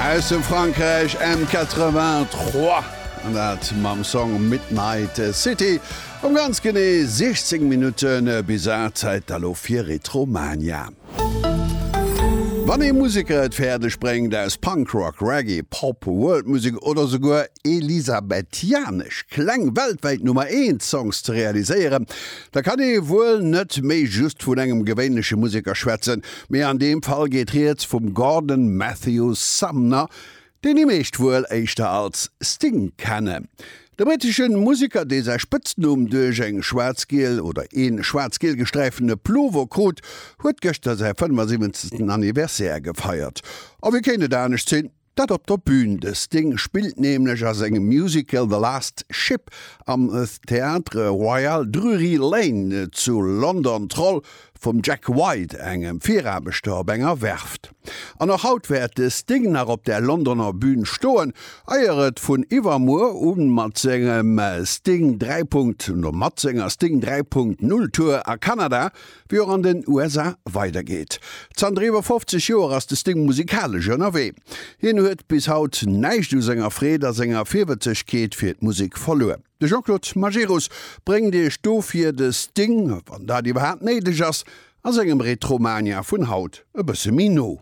Aus dem Frankräich M83 an dat mam Song Midnight City. Um ganz genee 16 Minutte bis 8, Zäit da lo fir Retromania. Wann ee Museker et fäerdeg bréngt aus Punkrock, Reggae, Pop, Worldmusek oder souguer elisabethianesch Kläng weltwäit Nummer eent Songs ze realiséieren, da kann ee wuel net méi just vun engem gewéinleche Museker schwätzen, mee an deem Fall geet rieds vum Gordon Matthew Sumner, deen déi meescht wuel éischter als Sting kennen. De brittesche Museker, dee säi Spëtznumm duerch eng schwaarz-giel oder een schwaarz-giel gesträiftene Plover krut, huet gëschter säi 75. Anniversaire gefeiert. A wéi kéint et anescht sinn, dat op der Bün. De Sting spillt nämlech a sengem Musical The Last Ship am Theatre Royal Drury Lane zu London d'Roll vum Jack White, engem Viraarbechter op enger Werft. An och haut wäert de Sting nach op der Londoner Bün stoen, eier et vun iwwermuer u mat sengem Sting 3. Mat senger Sting 3.0 Tour a Kanada wéi och an den USA weidergeet. Zanter iwwer 50 Joer ass de Sting musikalesch ënnerwee. Hien huet bis haut näischt u senger Freed a senger Virwëtzegkeet fir d'Musek verluer. De Jean-Claude Majerus bréngt iech dofir de Sting, wann dat iwwerhaapt néideg ass, a sengem Retromania vun haut e bësse méi no.